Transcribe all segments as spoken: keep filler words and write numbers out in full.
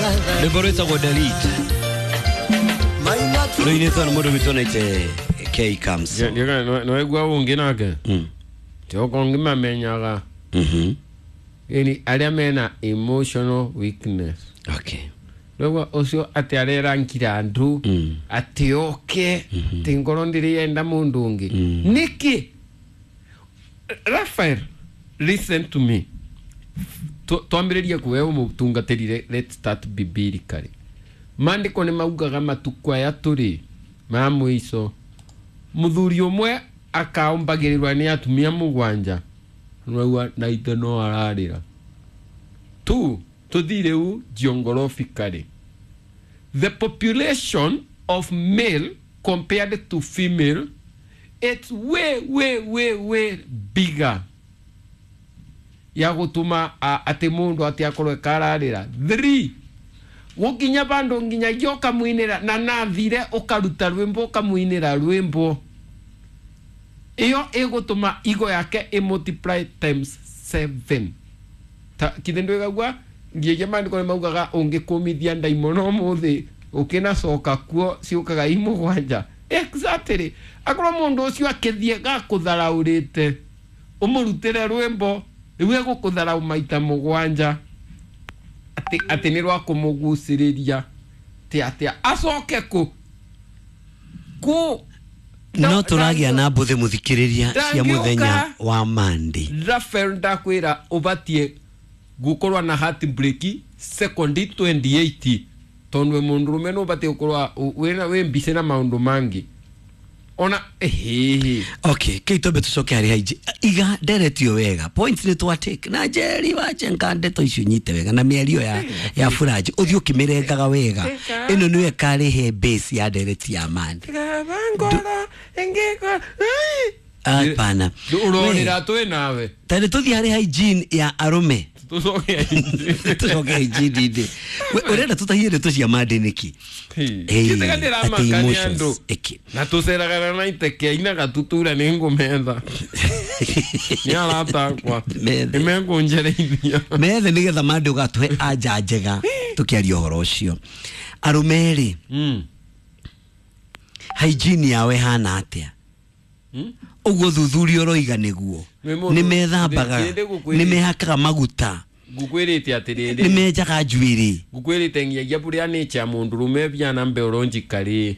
Rwĩmbo rwĩtagwo Delete, rũinĩtwo nĩ mũndũ witũ naite K Comes. Noegua ũngĩ nake Mm. tioko ngĩmamenyaga. Mhm. Ĩni arĩa mena emotional weakness. Okay. Rĩu ũcio atĩ arerankira andũ Mm. atĩ oke ti ngoro ndĩrĩenda mũndũ ũngĩ. Mm. Nĩkĩ? Raphael, listen to me. Tu- twambĩrĩrie kuwe ũmũtungatĩrire. Let's start biblically. Maandĩko nĩ maugaga matukũ aya tũrĩ ma mũico, mũthuri ũmwe akaũmbagĩrĩrwa nĩ atumia mũgwanja. Nĩwaigua naithe no ararĩra tu. Tũthiĩ rĩu geographically, the population of male compared to female, it's way, way, way, way bigger ya gũtũma a- atĩ mũndũ atĩ akorwo kararĩra three gũkinya bandũ nginyagia ũkamũinĩra na nathire ũkaruta rwĩmbo ũkamũinĩra rwĩmbo ĩyo ĩgũtũma igo yake ĩ multiply times seven. Ta kithe ndwĩgagua ngiagia maandĩko nĩ maugaga ũngĩkũmithia ndaimono ũmũthĩ ũkĩnacoka kuo ciũkaga i mũgwanja. Exactly, akorwo mũndũ ũcio akĩthiĩ gakũtharaũrĩte ũmũrutĩre rwĩmbo rĩu egũkũtharau maita mũgwanja atĩ atĩ nĩ rwa kũmũgucĩrĩria atĩ atĩa acoke kũ kũ. No tũragĩa na mbũthĩ mũthikĩrĩria cia Ndangĩũka. Mũthenya wa Mandi. Rafael, ndakwĩra ũbatie gũkorwo na heartbreak sekondi mĩrongo ĩrĩ na nyanya tondũ wĩ mũndũrũme nĩ ũbatie gũkorwo wĩna wĩ mbice na maũndũ mangĩ ona ĩhĩhĩ. Okay, kei twambe tũcoke harĩ haiji iga nderetio wega points nĩ twatake na njeri wachenga ndeto icio nyite wega na mĩario ya ya furanji ũthiĩ ũkĩmĩrengaga wega. Ĩka. Ĩno nĩyo ĩkarĩhe base ya ndereti ya Mandi. Ngoro ĩngĩkora. Hapana. Ũrorĩra twĩ nawe. Tarĩ tũthiĩ harĩ hygiene ya arũme. Tũcoke. Tũcoke hygiene-inĩ. We, ũrenda tũtahie ndeto cia Mandi nĩkĩ? Gĩtega atĩ ndĩramaka nĩ emotions. andũ. Ĩkĩ? Na tũceragana na iteke ainaga tutura nĩ ngũmetha nĩ arata akwa. Methe. Nĩ mekũnjereithia. Methe nĩgetha Mandi ũgatũhe anja njega tũkĩaria ũhoro ũcio. Arũme rĩ, Mm. hygiene yao ĩhana atĩa? Mm? Ũguo thuthuria ũroiga nĩguo Nĩ mũndũ- nĩ methambaga, ndĩ- ndĩ gũkwĩrĩte. nĩ mehakaga maguta, Ngukwĩrĩte atĩrĩrĩ, nĩ menjaga njuĩrĩ. Ngukwĩrĩte ngiagia bũrĩa nĩ cha mũndũrũme biana mbeũronjika rĩ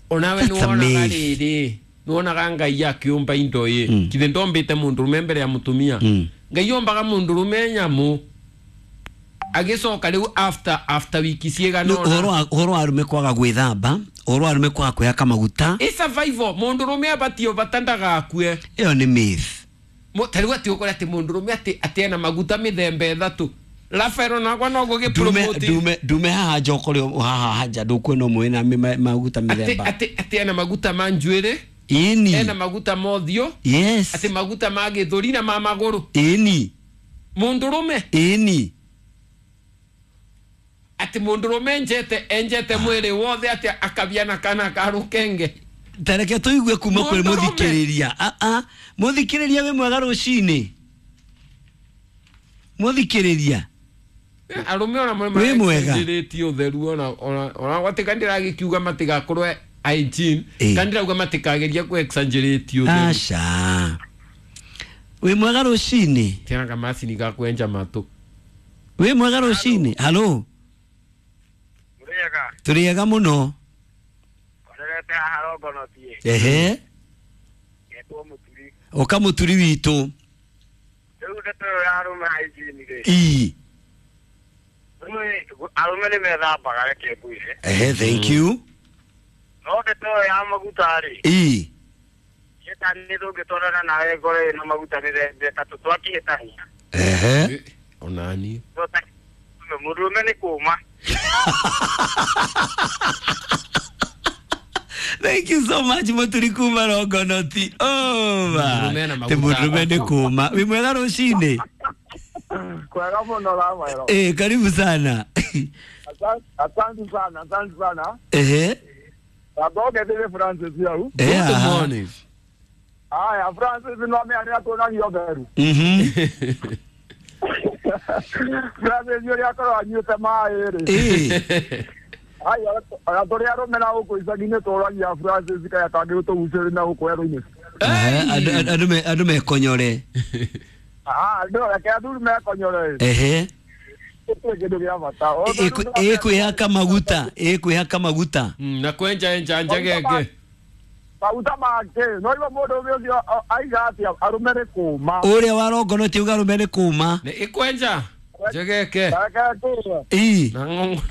onawe. That's a Nĩwonaga myth. rĩrĩ nĩwonaga Ngai akĩũmba indo ĩ Mm. kithe ndombĩte mũndũrũme mbere ya mũtumia. Mm. Ngai ombaga mũndũrũme nyamũ agĩcoka rĩu after after wiki ciigana Nĩ ũhoro ũna. wa- ũhoro wa arũme kwaga gwĩthamba, ũhoro wa arũme kwaga kwĩhaka maguta. Ĩ survival mũndũrũme abatie bata ndagakue. Ĩyo nĩ myth. Mo- ta rĩu atĩ ũkore atĩ mũndũrũme atĩ atĩ ena maguta mĩthemba ĩthatũ. Rafael onakwa no ndume gũgĩ ndume ndume haha njoko haha hanja ndũkuona ũmwe na mĩ- maguta atĩ mĩthemba. atĩ atĩ ena maguta ma njuĩrĩ, ĩni ena maguta ma ũthiũ, yes atĩ maguta ma gĩthũri na ma magũrũ. Ĩni. Mũndũrũme ĩni atĩ mũndũrũme enjete enjete mwĩrĩ wothe atĩ akabia na kana ka rũkenge. Tareke tũigue kuma kwĩ Mũndũrũme. Mũthikĩrĩria. Ah, ah, mũthikĩrĩria wĩ mwega rũcinĩ, mũthikĩrĩria. Arũme ona mo Wĩ mwega. maexagerate ũtheru ona ona ona gwatika ndĩragĩkiuga matigakorwo hygiene. Ĩ. Kana ndĩrauga matikageria ku exaggerate ũtheru. Aca, wĩ mwega rũcinĩ. Tena kamacini ga kwenja matũ. Wĩ mwega rũcinĩ, halo. Mũrĩega? Tũrĩega mũno. Orerete haha Rongonotie. Ehe. Getwo Mũturi. Ũka mũturi witũ. Rĩu ndeto ĩyo ya arũme hygiene rĩ, ii rĩu arũme nĩ methambaga, reke ngwĩre. Ehe, thank you. No ndeto ĩyo ya maguta rĩ, ii gĩtani tũngĩtwarana nawe ngoro ĩna maguta mĩthemba ĩtatũ twakĩhĩtania. Ehe. Onani. Mũndũrũme nĩ kũma. Thank you so much, mũturi kuma Rongonoti. Mũndũrũme ena maguta. Ti mũndũrũme nĩ kũma. Wĩ mwega rũcinĩ. Kwega mũno, Rafaelo. Eh, karibu sana. Asante sana, asante sana. Ehe. Ndogethire Francis hau. Eh, Good aha. morning. Aya, Francis no mĩaria tuonagio theru. Mhm. Francis ũrĩa akorwo anyuĩte maĩ rĩ. Ĩĩ. Ai, ona tũrĩ arũme na gũkũ icagi-inĩ tũragia Francis kaya kangĩgũtũgucĩrĩria na gũkũ werũ-inĩ. Ehe, andũ andũ me- andũ mekonyore. Ah, andũ reke athuri mekonyore. Ehe. Gũtirĩ kĩndũ gĩa bata. Ĩkwĩhaka maguta, ĩkwĩhaka maguta. Mm, na kwenja enja njegenge. Maguta make no igo mũndũ ũmwe ũcio aiga atĩa arũme nĩ kũma. Ũrĩa warongono ti uga arũme nĩ kũma. Nĩ ikwenja njegeke. Reke ngwĩre. Ĩĩ. Na ng'ong'o.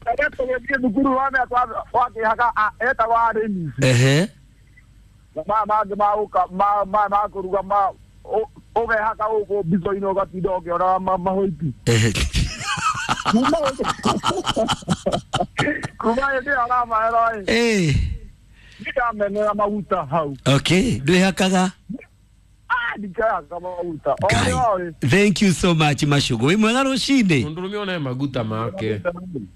Reke tũgĩthiĩ thukuru wane twakĩhaka etagwo arĩmi. Ehe. Na maya mangĩ ma gũka ma ma ma kũruga ma ũgehaka gũkũ mbico-inĩ ũgatinda ũkĩonaga mahũiti. Ehe. Kuma kuma hĩndĩ ĩyo ũramahera ĩ. Ĩĩ. Ndikamenera maguta hau. Okay, ndwĩhakaga? Ah, ndikehaka maguta. Ngai. Ori ori. Thank you so much Mashugu. Wĩ mwega rũcinĩ? Mũndũrũme one maguta make.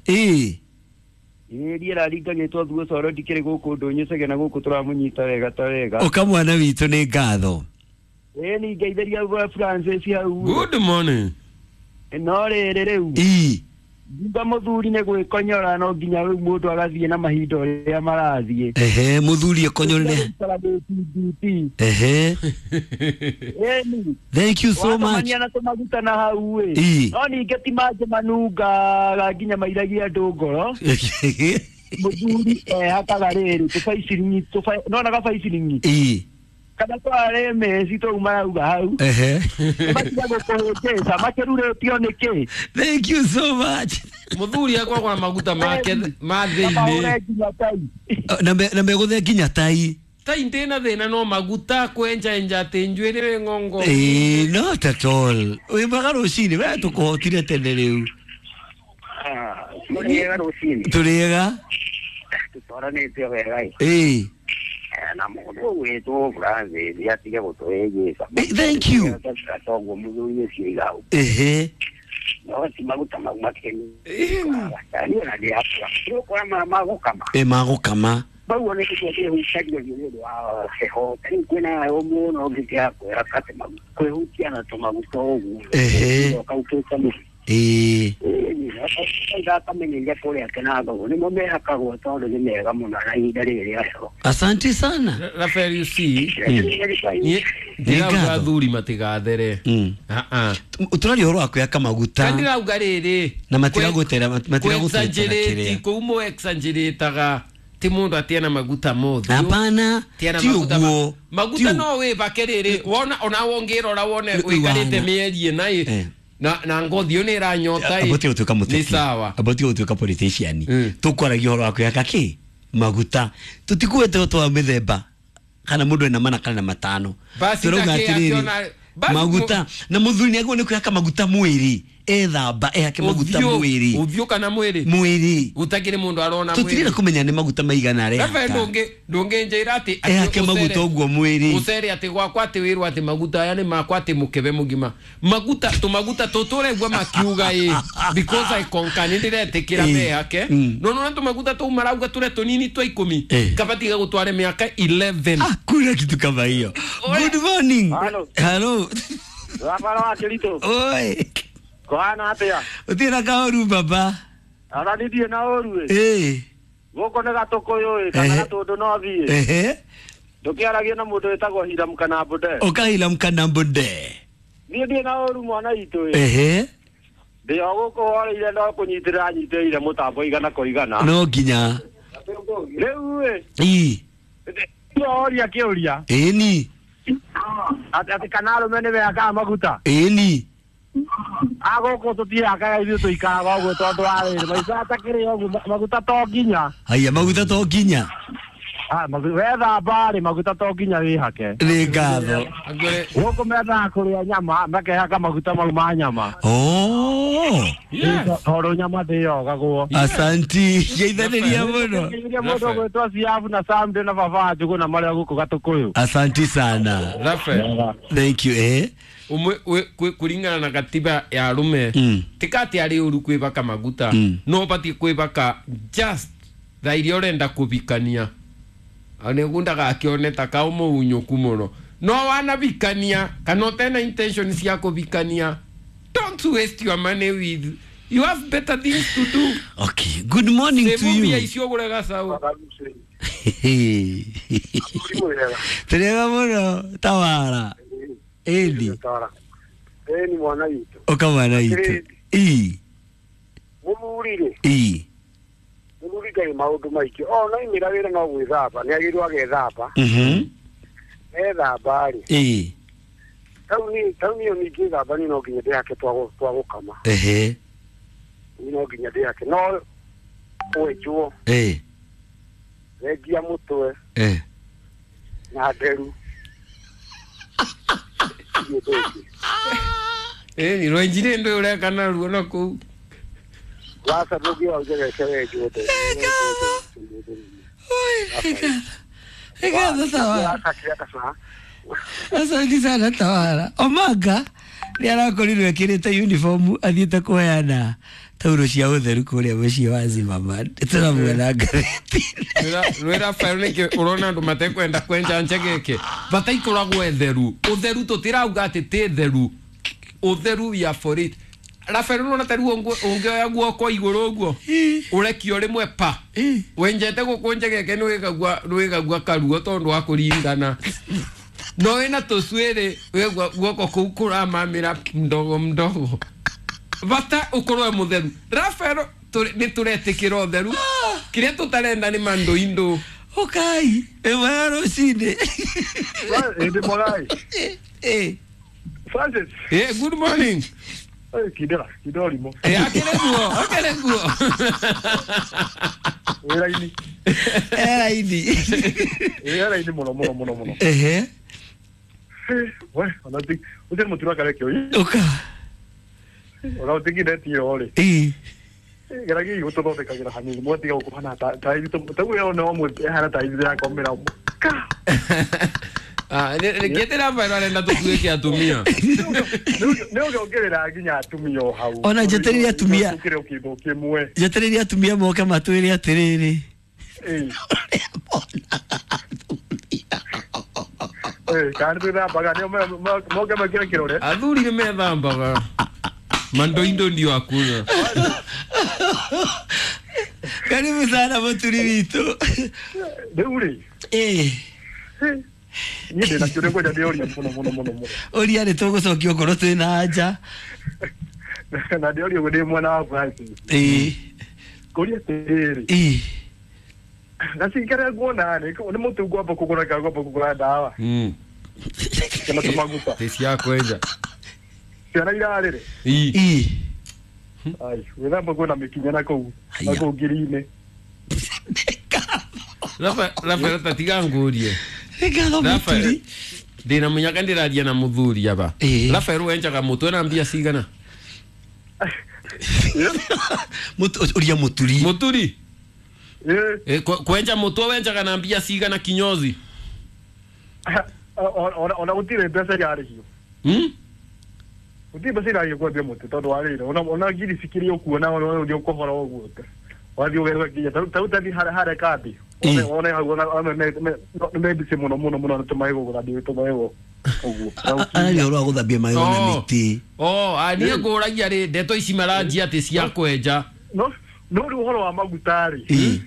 Ĩĩ. Ĩĩ rĩera ringagĩtwo thuo coro ndikĩrĩ gũkũ ndũnyũcege na gũkũ tũramũnyita wega ta wega. Ũka mwana witũ nĩ ngatho. Ĩĩ ni ngeithĩria gwa Francis hau. Good morning. No rĩrĩ rĩu. Ĩĩ. Thutha mũthuri nĩ gwĩkonyora no nginya rĩu mũndũ agathiĩ na mahinda ũrĩa marathiĩ. Ehe, mũthuri ekonyorere. Ehe. Ĩni. Thank you so much. Wacemania na tũmaguta na hau ĩ. Ĩĩ. No ningĩ ti mangĩ manungaga nginya mairagia andũ ngoro. Mũthuri ehakaga rĩrĩ tũbaiciringi nona gabaiciringi. Ĩĩ. Kana twarĩ meci tũu marauga hau. Ehe. Matiga gũkũhĩngĩca makĩrurĩtio nĩkĩ. Thank you so much. Mũthuri akwagũra maguta make ma thĩinĩ. Mahũre nginya tai. Na me na megũthe nginya tai. Tai ndĩna thĩna no maguta kwenja enja atĩ njuĩrĩ wĩ ng'ongo. Ĩĩ, not at all. Wĩ mwega rũcinĩ, we tũkũhotire tene rĩu. Mũrĩega rũcinĩ. Tũrĩega? Tũtwaranĩte wega ĩ. Ĩĩ. Na mũndũ ũgwĩtwo Francis atige gũtũhĩngĩca. Thank you. Toguo mũthuri ũcio igau. Ehe. No ti maguta mau makĩnu. Niĩ na ndĩhakaga. Nĩũkora ma magũkama. Ĩ magũkama. Bau nĩ kĩndũ kĩhutagio nĩ ũndũ wa heho. Ta rĩu kwĩna heho mũno ũngĩtiga kwĩhaka tũmaguta. Kwĩhutia na tũmaguta ũguo. Ehe. Ũkautĩte mũno. Ĩĩ. Ndakamenyeire kũrĩa Kĩnangogo nĩmo mehakagwo tondũ nĩ mega mũno na ihinda rĩrĩ rĩa heho. Asante sana. Rafael, you see, niĩ ndĩrauga athuri matigathere. Mm. Ah ah. Tũraria ũhoro wa kwĩhaka maguta. Kandi ndĩrauga rĩrĩ. Na matiragũtera matiragũtetera kĩrĩa. Kũu mũ exaggerate-aga ti mũndũ atiena maguta mothe. Hapana. Tiena Ti maguta ma- ũguo. Maguta no wĩbake rĩrĩ wona ona wongĩrora wone Rĩu wĩikarĩte wana. mĩeri ĩna ĩ Eh. na na ngothi ĩyo nĩ ĩranyota ĩ. Abati gũtuĩka Nĩ mũteti. sawa. Abati gũtuĩka politician. Mm. Tũkwaragia ũhoro wa kwĩhaka kĩ? Maguta. Tũtikuĩte twa mĩthemba. Kana mũndũ ena mana kana matano. Basi Tũrauga take atĩrĩrĩ, akĩona- basi maguta na mũthuri nĩagĩrĩirwo nĩ kwĩhaka maguta mwĩrĩ. Ethamba ehake maguta Ũthiũ- mwĩrĩ. ũthiũ kana mwĩrĩ. Mwĩrĩ. Gũtakĩrĩ mũndũ arona Tũtirenda mwĩrĩ. kũmenya nĩ maguta maigana Rafael arehaka. ndũngĩ ndũngĩnjĩra atĩ atĩ Ehake maguta ũcere- ũguo mwĩrĩ. ũcere atĩ gwakwa atĩ wĩrwo atĩ maguta aya nĩ makwa atĩ mũkebe mũgima maguta tũmaguta tũtũraigua makiuga ĩ because I conquer nĩ ndĩretĩkĩra Ĩ. mehake Mm. no nona tũmaguta tũu marauga tũrĩa tũnini twa ikũmi Ĩ. kabatiga gũtware mĩaka eleven. Hakuna kitu kama hiyo. Oya. Good morning. Hello. Hello. Rabara wa Kĩritũ. Oi. Kũhana atĩa? Ũtirĩ na kaũru baba. Ona niĩ ndirĩ na ũru ĩ. Ĩĩ. Gũkũ nĩ Gatũkũyũ ĩ kana Ehe. Gatũndũ no thiĩ. Ehe. Ndũkĩaragie na mũndũ wĩtagwo Hiram kana Mbũnde. Ũka Hiram kana Mbũnde. Niĩ ndirĩ na ũru mwana witũ ĩ. Ehe. Ndĩ o gũkũ horeire no kũnyitĩrĩra nyitĩrĩire mũtambo igana kwa igana. No nginya. Rĩu ĩ. Ii. Oria kĩũria. Ĩni. Atĩ atĩ kana arũme nĩ mehakaga maguta. Ĩni. A gũkũ tũtihakaga ithuĩ tũikaraga ũguo tondũ wa rĩrĩ maica atakĩrĩ ũguo maguta to nginya. Haya maguta to nginya. Ah, magu- wethamba rĩ maguta to nginya wĩhake. Nĩ ngatho. Angĩore Gũkũ mendaga kũrĩa nyama makehaka maguta mau ma nyama. Oh. yes. Tondũ nyama ndĩyogagwo. Asanti. Geithanĩria mũno. Ngeithĩria mũndũ ũgwĩtwo Siabu na Samde na baba wa Njũgũ na marĩa gũkũ Gatũkũyũ. Asanti sana. Rafael Thank you eh. umwe we- kwi- kuringana na katiba ya arume Mm. tikati ari uru kwibaka maguta Mm. no batie kwibaka just thaa iria urenda kubikania nĩguo ndagakĩone ta kao mũunyũku mũno no wanabikania kana ũtena intention cia kũbikania don't Don't waste your money with you have better things to do. Okay, good morning to Save mbia you. icio ũgũre gacaũ. Tũrĩega mũno tawara. Ĩni. Ĩni mwana witũ. Ũka mwana witũ. Ii. Mũthuri rĩ. Ii. Mũthuri ndarĩ maũndũ maingĩ. O no imĩra wĩra no gwĩthamba, nĩ agĩrĩirwo agethamba. Mhm. Ethamba rĩ. Ii. Tauni tauni ĩyo ningĩthamba niĩ no nginya ndĩhake twa gũkama. Ehe. Niĩ no nginya ndĩhake no kwenjwo. Ĩĩ. Thengia mũtwe. Eh. Na nderu. Eh, ni rwenjire ndo ureka na ruo na kuu. Wasa ndugi wa njegeke wenjwo nderu. Ega tawara. Asante sana tawara. Omanga nĩ arakorirwo ekĩrĩte uniform athiĩte kũheana tauro cia ũtheru kũrĩa mũciĩ wa Zimmerman. Tũramuona ngathĩti-inĩ. Rwĩra Rafael nĩkĩ ũrona andũ matekwenda kwenja njegeke. Bata ikoragwo etheru. Ũtheru tũtirauga atĩ ti theru. Ũtheru we are for it. Rafael ũrona ta rĩu ũngĩoya guoko igũrũ ũguo ũrekio rĩmwe pa wenjete gũkũ njegeke nĩ wĩkagua karuo tondũ wa kũringana no wĩna tũcuĩrĩ wĩgua guoko kũu kũramamĩra mdogo mdogo bata ũkorwo e mũtheru. Rafael nĩ tũretĩkĩra ũtheru kĩrĩa tũtarenda nĩ mandoindo. Ũkai ĩmwe ya rũcinĩ. Ĩndĩ Mũgai. Eh. Francis. Eh, good morning. Eh, kidera, kidorimo. Eh, akere guo, akere guo. Wĩra-inĩ. Era-inĩ. Wĩra-inĩ mũno mũno mũno mũno. Ehe. We, ona ti, ucio nĩ mũturo akarekio. Ũka. Ona ũtingindetio rĩ. Ĩĩ. Geragia gũtũthondekagĩra hanini mwatiga gũkũhana ta ta ithu ta guo no mwe ehana ta ithu yakomera. Ka. Ah, nĩkĩte Rafael arenda tũtuĩke atumia. Nĩ ũngĩongerera nginya atumia o hau. Ona njetereire atumia. Tũkĩre kĩndũ kĩmwe. Njetereire atumia moke matwĩre atĩrĩrĩ. Ĩĩ. Eh, kana twĩthambaga nĩo moke mekĩre kĩrore. Athuri nĩ methambaga. Mandoindo ndio hakuna. Karibu sana mũturi witũ. Rĩu rĩ. Ĩĩ. Niĩ ndĩna kĩũria ngwenda ndĩũrie mũno mũno mũno mũno. Ũria nĩ tũgũcokia okorwo twĩna anja. Na ndĩũrie ũguo ndĩ mwena wa Francis. Ĩĩ. Ngũrie atĩrĩrĩ. Ĩĩ. Gacingi karĩa nguona rĩ, nĩ mũtĩ ngwamba kũgũra kana ngwamba kũgũra ndawa. Mm. Kana tũmaguta. Tĩ cia kwenja. Ciana irarĩrĩ. Ĩĩ. Ĩĩ. Ai, gwĩthamba kwĩna mĩkinya na kũu na kũu ngiri-inĩ. Rafael Rafael ta tiga ngũrie. Ngatho mũturi. Ndĩna mũnyaka ndĩraria na mũthuri aba. Rafael wenjaga mũtwe na mbia cigana? Mũtu ũria mũturi. Mũturi. Eh, kwenja mũtwe wenjaga na mbia cigana kinyozi? Ona ona gũtirĩ mbeca irarĩhio. Hmm? Gũtirĩ mbeca irarĩhio kwenja mũtwe tondũ wa rĩrĩ ona ona ngiri cikĩrĩ ũkuona ona ũthiĩ ũkohora ũguo. Wathiĩ ũgerwo nginya ta rĩu tathi harĩa harĩa kambi. One hau ona nĩ mendicĩ mũno mũno mũno na tũmaĩgũ gũthambia tũmaĩgũ ũguo. Araria ũhoro wa gũthambia magego na mĩtĩ. Oh, niĩ ngũragia rĩ ndeto ici maranjia atĩ cia kwenja. No no rĩu ũhoro wa maguta rĩ.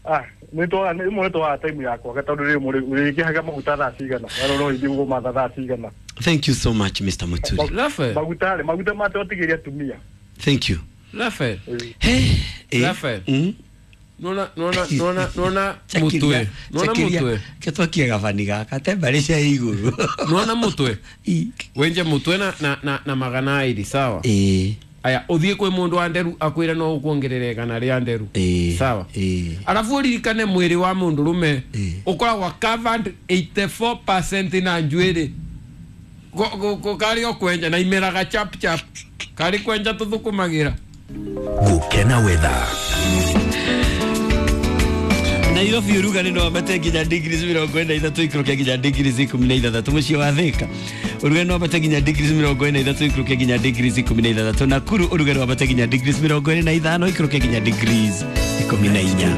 Ah, nĩ twa nĩ rĩmwe twa time yakwa tondũ rĩmwe rĩngĩhaga maguta thaa cigana. No ithiĩ gũmatha thaa cigana. Thank you so much Mister Muturi. Rafael. Maguta rĩ maguta ma twatigĩria atumia. Thank you. Rafael. Hey, Rafael. Nona nona nona nona mutwe. Nona mutwe. Ke twakie gabani gaka te mbari cia iguru. Nona mutwe. Wenje mutwe na na na, na magana iri sawa. Eh. Aya uthie kwi mundu wa nderu akwira no ukuongerere kana ria nderu. Sawa. Arafu uririkane mwiri wa mundu rume ukoragwo covered eighty-four percent na njuiri. Go go kari o kwenja na imeraga chap chap. Kari kwenja tuthukumagira. Gukena weather. Nairobi urugarĩ no wambate nginya degrees mĩrongo ĩna ithatũ ikũrũke nginya degrees ikũmi na ithathatũ. Mũciĩ wa Thika ũrugarĩ no wambate nginya degrees mĩrongo ĩna ithatũ ikũrũke nginya degrees ikũmi na ithathatũ. Nakuru ũrugarĩ wambate nginya degrees mĩrongo ĩrĩ na ithano ikũrũke nginya degrees ikũmi na inya.